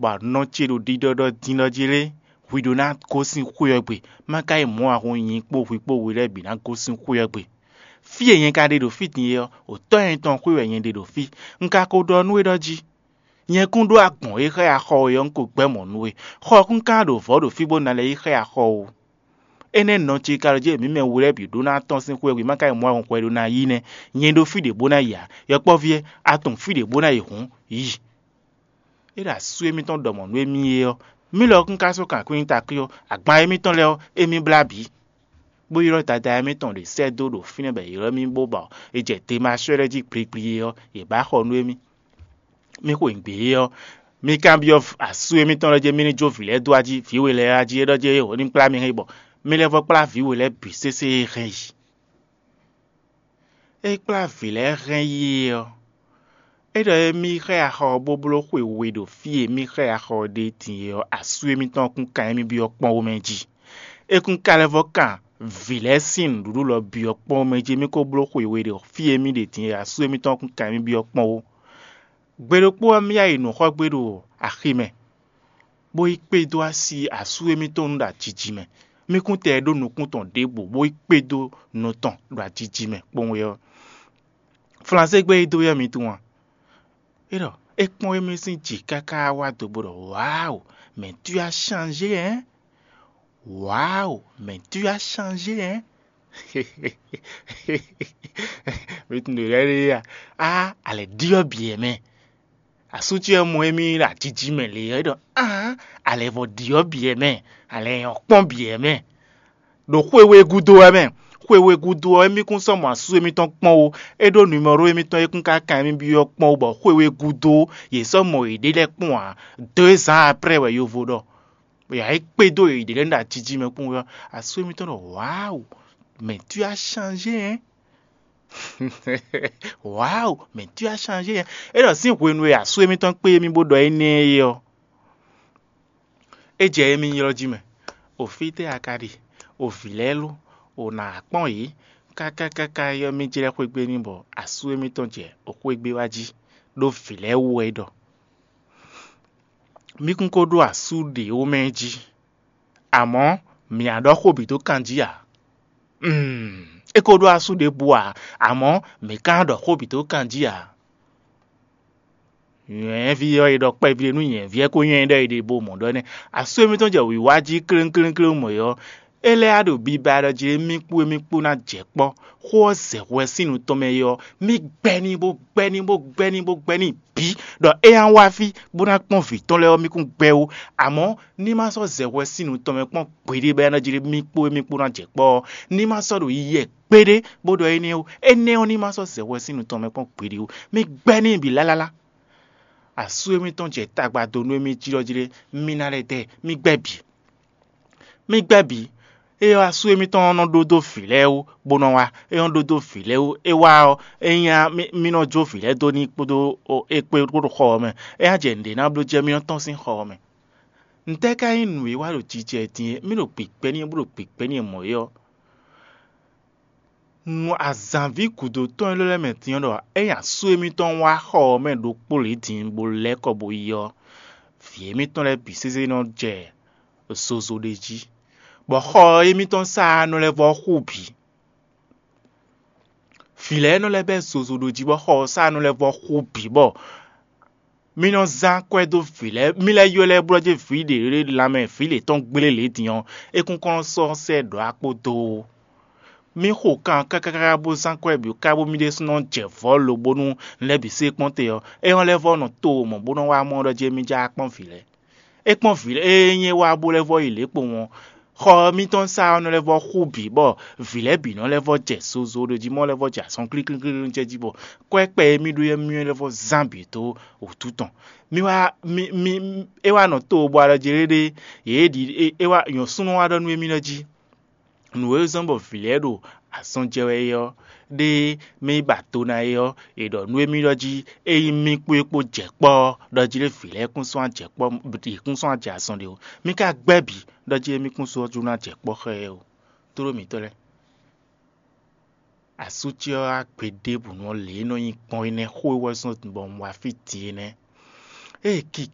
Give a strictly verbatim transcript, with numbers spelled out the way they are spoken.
bɔ nɔ ce ɖo ɖiɖɔɖɔ din ɖɔ jí lé, hwi ɖó ná gosín xwé ɔ́ gbe, má ka yi mɔ̌ ǎ hǔn nyǐ kpó hwi kpó we lɛ́ɛ bǐ ná gosín xwé ɔ́ gbe. Fí e nyɛ ka ɖe ɖo fí din é ɔ́, wǒtɔ́ nyɛ tɔn xwé wɛ nyɛ ɖe ɖo fí. Un ka ko ɖɔ nú we ɖɔ jí: Nyɛ kún ɖó agbɔ̌n e xá ya xɔ we ɔ́, un ko gbɛ́ mɔ̌ nú we. Xɔ ɔ́ kún ka ɖo vɔ̌ ɖo fí bó ná lɛ́ yi xá ya xɔ ó. Énɛ́ nɔ ce ka ɖɔ jí mǐ mɛ we lɛ́ɛ bǐ ɖó ná tɔ́n sín xwé ɔ́ gbe, má ka yi mɔ̌ ǎ hǔn hwɛ ɖó ná yí nɛ́. Nyɛ ɖó fí ɖě bó ná yi ǎ. Yɔkpɔ́ví ɔ́, a tunwun fí ɖě bó ná yi hǔn, yi. É ɖo asú émítɔn ɖɔ mɔ̌ nú émí é ɔ́, mǐ lɔ kún ka sɔ́ kan kwín takí ɔ́, agban émítɔn lɛ́ɛ ɔ́, émí blá bǐ, bó ylɔ́ dada émítɔn ɖě sɛ́ dó ɖo fínɛ́ bɔ è ylɔ́ mì bó bɔ è jɛ Demasɔ́ lɛ́ɛ jí gbligblí é ɔ́, yě ba xɔ nú émí. Mì xweyǐgbe é ɔ́, mì kanbyɔ́ asú émítɔn lɛ́ɛ jí mì ní jó vǐ lɛ́ɛ dó ají, vǐ we lɛ́ɛ ají é ɖɔ jí é wǒ ní kplá mi hɛn yi bɔ mì lɛ́ vɔ́ kplá vǐ we lɛ́ɛ bǐ sésé e hɛn yi. É kplá vǐ lɛ́ɛ hɛn yi é ɔ́, é ɖɔ émí xá ya xɔ ɔ́ bó bló xwe we ɖo fí e mì xá ya xɔ ɔ́ ɖe din é ɔ́, asú émítɔn kún kan émí byɔ́ kpɔ́n wú mɛ jí. É kún ka lɛ́ vɔ́ kan vǐ lɛ́ɛ sín nǔɖuɖu lɔ byɔ́ kpɔ́n wú mɛ jí, émí ko bló xwe we ɖo fí e mì ɖe din é, asú émítɔn kún kan émí byɔ́ kpɔ́n wú. Gbe ɖokpó ɔ́, mì yá yi nǔ xɔ gbé ɖo axi mɛ, bó yi kpé dó así asú émítɔn nu ɖo ajiji mɛ. Mì kún tɛ ɖó nukún tɔn ɖěbǔ, bó yi kpé dó nɔ tɔn ɖo ajiji mɛ kpowun ɔ́. Flansé gbé e dó yɔ́ mi tunwun a? É ɖɔ é kpɔ́n émí sín jǐ káká wá do bó ɖɔ: "Waáo, mais tu as changé, hein? Waáo, mais tu as changé, hein?" Mi tunwun ɖě lɛ́ɛ ɖe a? Á, alɛ ɖyɔ́ bǐ ɛ mɛ. Asú ce ɔ́ mɔ émí ɖo ajiji mɛ lě ɔ́, é ɖɔ: "Aan, alɛ vɔ ɖyɔ́ bǐ ɛ mɛ, alɛ nyɔ̌ kpɔ́n bǐ ɛ mɛ." Ɖo xwe we gúdo wɛ mɛ. Xwe we gúdo ɔ́, émí kún sɔ́ mɔ asú émítɔn kpɔ́n ó. É ɖó numɛ́ro émítɔn e kún ka kan émí byɔ́ kpɔ́n ó, bɔ xwe we gúdo ɔ́, yě sɔ́ mɔ yěɖée lɛ́ɛ kpɔ́n ǎ. Deux ans après wɛ yovo ɖɔ. Yǎ é kpé dó yěɖée lɛ́ɛ ɖo ajiji mɛ kpɔ́n ɔ́, asú émítɔn ɖɔ: "Waáo, mais tu as changé, hein? Waáo, mais tu as changé, hein?" É ɖɔ sín hwenu e asú émítɔn kpé émí bó ɖɔ énɛ́ é ɔ́, é jɛ émí ylɔ́ jí mɛ. O fítɛ́ a ka ɖe? O vǐ lɛ́ɛ lo? O nǎ kpɔ́n yě? Káká káká ɔ́, mì jlɛ́ xwé gbe n'i bɔ asú émítɔn jɛ o xwé gbe wá jí, ɖó vǐ lɛ́ɛ wú wɛ é ɖɔ. Mì kún ko ɖó asú ɖě ó mɛ jí, amɔ̌ mǐ á ɖɔ xó bǐ dó kan jí ǎ. Mm, é ko ɖó asú ɖěbǔ ǎ, amɔ̌ mǐ ka ɖɔ xó bǐ dó kan jí ǎ. Nyɔ̌nyɛ́ví ɔ́, è ɖɔ kpɛví ɖé nú nyɔ̌nyɛ́ví ɔ́, é ko nyɔ́ ɛ ɖɔ è ɖe bo mɔ̌ ɖɔ nɛ́. Asú émítɔn jɛ wǐwá jí kléŋkléŋkléŋ mɔ̌ ɔ́, é lɛ́ wá ɖo biba ɖɔ jí émí kpó émí kpó ná jɛ kpɔ́. Xó ɔ́ zɛ hwɛ sín nu tɔn mɛ é ɔ́, mì gbɛ́ n'i bó gbɛ́ n'i bó gbɛ́ n'i bó gbɛ́ n'i bǐ ɖɔ é ná wá fí bó ná kpɔ́n vǐ tɔn lɛ́ɛ ɔ́, mì kún gbɛ́ ó. Amɔ̌ ní ma sɔ́ zɛ hwɛ sín nu tɔn mɛ kpɔ́n gbeɖé bɔ é ná jlé mì kpó émí kpó ná jɛ kpɔ́ ɔ́, ní ma sɔ́ ɖo yiyɛ kpéɖé bó ɖɔ énɛ́ ó. Énɛ́ ɔ́, ní ma sɔ́ zɛ hwɛ sín nu tɔn mɛ kpɔ́n gbeɖé ó. Mì gbɛ́ n'i bǐ lálálá. Asú émítɔn jɛ tagba dó nú émí jí ɖɔ jlé mì ná lɛ́ dɛ, mì gbɛ́ bǐ. Mì gbɛ́ bǐ. É ɔ́, asú émítɔn ɔ́ nɔ ɖó dó vǐ lɛ́ɛ wú, bó nɔ wá. É nɔ ɖó dó vǐ lɛ́ɛ wú. É wá ɔ́, é nyí mì nɔ jó vǐ lɛ́ɛ dó n'i kpódó é kpé kpódó xɔ ɔ́ mɛ. É ná jɛ nǔɖé ná bló jɛ mì nɔ tɔ́n sín xɔ ɔ́ mɛ. Ntɛ́ ka nyí nǔ e wa ɖo jijɛ din e mì ɖo gbigbɛ́ n'i bó ɖo gbigbɛ́ n'i mɔ̌ é ɔ́? Nu azǎnví gǔdo tɔn élɔ́ lɛ́ɛ mɛ din ɔ́ ɖɔ é nyi asú émítɔn wá xɔ ɔ́ mɛ ɖokpó lě din bó lɛ́ kɔ bó yi ɔ́, vǐ émítɔn lɛ́ɛ bǐ sésé nɔ jɛ zozo ɖé jí, bɔ xɔ émítɔn sá nɔ lɛ́ vɔ́ xú bǐ. Vǐ lɛ́ɛ nɔ lɛ́ bɛ́ zozo ɖo jí, bɔ xɔ ɔ́ sá nɔ lɛ́ vɔ́ xú bǐ, bɔ mì nɔ zán kwɛ́ dó vǐ lɛ́ɛ, mì lɛ́ ylɔ́ lɛ́ɛ blɔ́ jí vǐ ɖě lanmɛ vǐ lě tɔn gblé lě din ɔ́, é kún kɔn nɔ sɔ́ sɛ́ ɖɔ̌ akpó dó ó. Mì xo kan káká bó zán kwɛ́ bǐ káká bó mì ɖésúnɔ jɛ vɔ̌ lo bónú un lɛ́ bǐ sé kpɔ́n te ɔ́, é hɔn lɛ́ vɔ́ nɔ to mɔ̌ bó nɔ́ wá mɔ ɖɔ jí émí já kpɔ́n vǐ lɛ́ɛ. É kpɔ́n vǐ lɛ́ɛ, ée nyí é wá bó lɛ́ vɔ́ yi lě kpowun ɔ́, xɔ ɔ́ mítɔn sá ɔ́ nɔ lɛ́ vɔ́ xú bǐ, bɔ vǐ lɛ́ɛ bǐ nɔ lɛ́ vɔ́ jɛ zozo ɖo jí, mɔ lɛ́ vɔ́ jɛ azɔn klíklíklí jɛ jí, bɔ kwɛ́kpɛ e mì ɖó é mì lɛ́ vɔ zán bǐ dó wǔtu tɔn. Mi wá mi mi é wá nɔ to bo alɔ jɛ ɖéɖé, yě ɖi é wá nyɔ̌súnú wá ɖɔ nú émí lɛ́ɛ jí. Nǔ e zɔ́n bɔ vǐ lɛ́ɛ ɖo azɔn jɛ wɛ é ɔ́, ɖé mì ba do ná é ɔ́, è ɖɔ nú émí ɖɔ jí ényí mì kpó é kpó jɛ kpɔ́ ɔ́, ɖɔ jí lé vǐ lɛ́ɛ kún sɔ́ ajɛ kpɔ́, yě kún sɔ́ ajɛ azɔn ɖé ó. Mì ka gbɛ́ bǐ ɖɔ jí émí kún sɔ́ jú ná jɛ kpɔ́ xá ɛ ó. Tlóló mǐtɔn lɛ́ɛ, asú ce ɔ́ wá gbe ɖěbǔ nú lě e nɔ nyi gbɔn é nɛ́, xó e wɛ zɔ́n bɔ un wá fí din é nɛ́. Ée kikan